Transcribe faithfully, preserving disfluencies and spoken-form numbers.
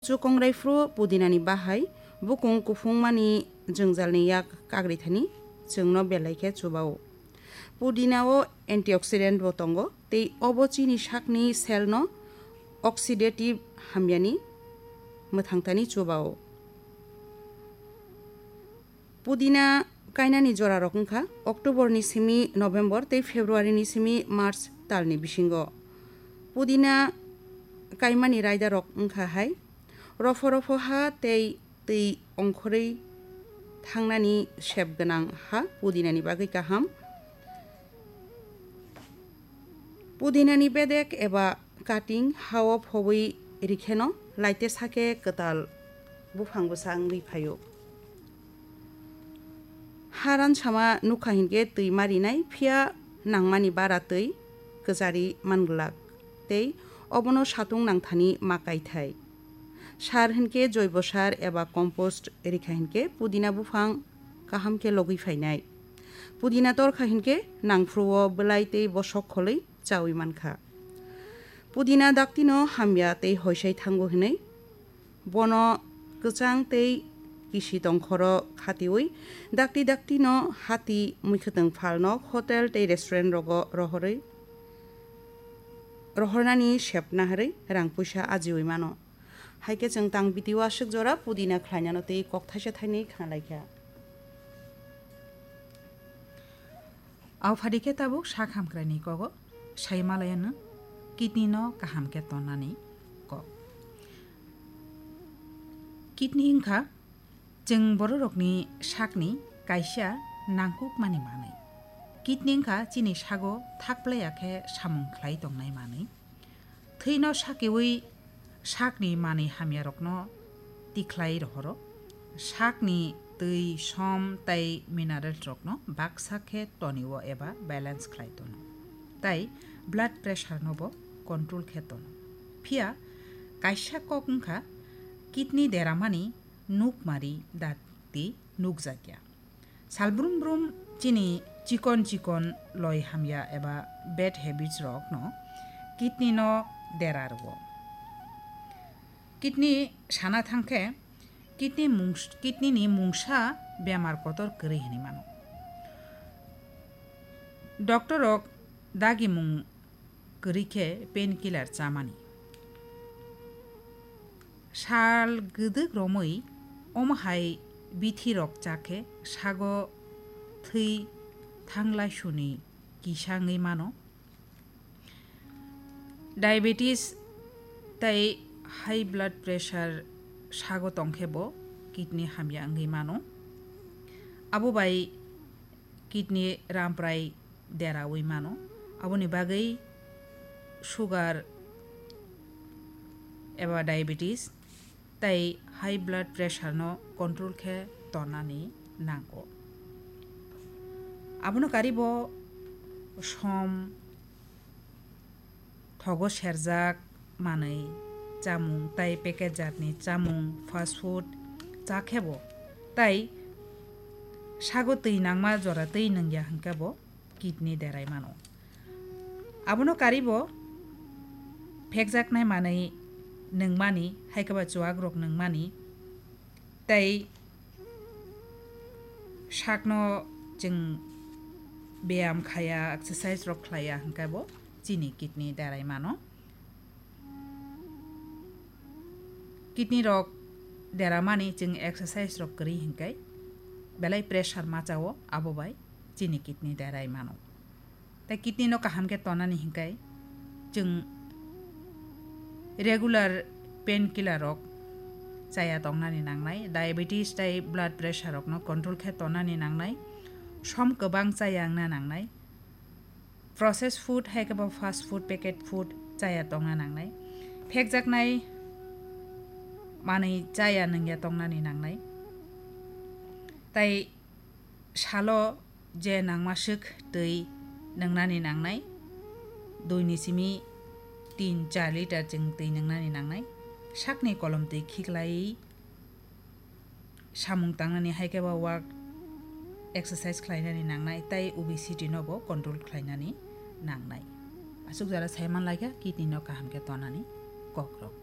Chukongrai phuru pudinani bahai bukung kuphungmani jwngjalni yak kagri thani chwngno belai khe chubao. Pudinao antioxidant bo tongo, tei obo chini sakni cell no oxidative hamyani mwthangtani chubao. Pudina kainani jorarok wngkha October ni simi November tei February ni simi March talni bisingo. Pudina kaimani raidarok wngkha hai, rofo rofo ha tei twi ongkhorwi thangnani sep gwnang ha pudinani bagwi kaham. Pudinani bedek eba cutting hao phobwi rikheno laite sake kwtal buphang bwsa wngwi phaio. Ha ransama nukha hinkhe twi marinai, phiya nangmani bara twi kwchari manglak tei obono satung nangthani ma kaithai. Sar hinkhe joibo sar eba compost rikha hinkhe pudina buphang kaham khe logwi phainai. Pudina torkha hinkhe nangphruo bwlai tei bosok kholwi chawi mankha. Pudina daktino hamya tei hoisai thango hinwi bono kwchang tei kisi tongkhoro khatiwi dakti daktino hati muikhwtwng phalno hotel tei restaurant rogo rohorwi rohornani sepna harwi rang puisa ajiwi mano. Hai khe chwng tang video aswk jora pudina khlainano tei kok thaisa thainwi khna lai kha. Au phadi khe tabuk sak hamkraini kogo sai malayano kidney no kaham khe tonnani kok. Kidney wngkha chwng bororokni sakni kaisa nangkukmani manwi. Kidney wngkha chini sago thakplaiya khe samung khlai tongnai manwi. Thwino sakiwi sakni manwi hamyarokno tikhlai rohoro. Sakni twi, som tei mineralsrokno baksa khe tonio eba balance khlai tono. Tei blood pressure no bo control khe tono. Phiya kaisa kok wngkha kidney deramani nukmari dakti nukjakya. Salbrum brum chini chikon chikon loi hamya eba bad habits rokno kidney no dera rwo. Kidney sana thangkhe kidney mungs-, kidney ni mungsa bemar kotor kwrwi hinwi mano. Doctor rok dagimung kwrwi khe painkiller chamani. Sal gwdwk romwi omo hai bithirok cha khe sago thwi thanglaisuni kisa wngwi mano. Diabetes tei high blood pressure sago tong khe bo kidney hamya wngwi mano. Abo bai kidney ramprai deraui mano. Aboni bagwi sugar eba diabetes tei high blood pressure no control khe tonani nango. Abono karibo som, thogo serjak manwi, chamung tei packet jatni chamung, fast food cha khe bo tei sago twi nangma jora twi nungya hwnkhe bo kidney derai mano. Abono karibo phekjaknai manwi nungmani, hai khe ba chuwak rok nungmani tei sakno chwng beyam khaya, exercise rok khlaiya hwnkhe bo chini kidney derai mano. Kidney rok deramani chwng exercise rok kwrwi hwnkhe belai pressure machao, abo bai chini kidney derai mano. Tei kidney no kaham khe tonani hwnkhe chwng regular painkiller rok chaya tongnani nangnai, diabetes tei blood pressure rokno control khe tongnani nangnai, som kwbang chaya wngna nangnai, processed food hai khe bo fast food, packet food chaya tongna nangnai, phekjaknai manwi chaya nungya tongnani nangnai, tei salo je nangmaswk twi nungnani nangnai, dui ni simi tin char litre chwng twi nungnani nangnai, sakni kolom twi khiklaiwi samung tangnani hai khe ba work exercise khlainani nangnai tei obesity no bo control khlainani nangnai. Aswk jora sai man lai kha kidney no kaham khe tonani kok rok.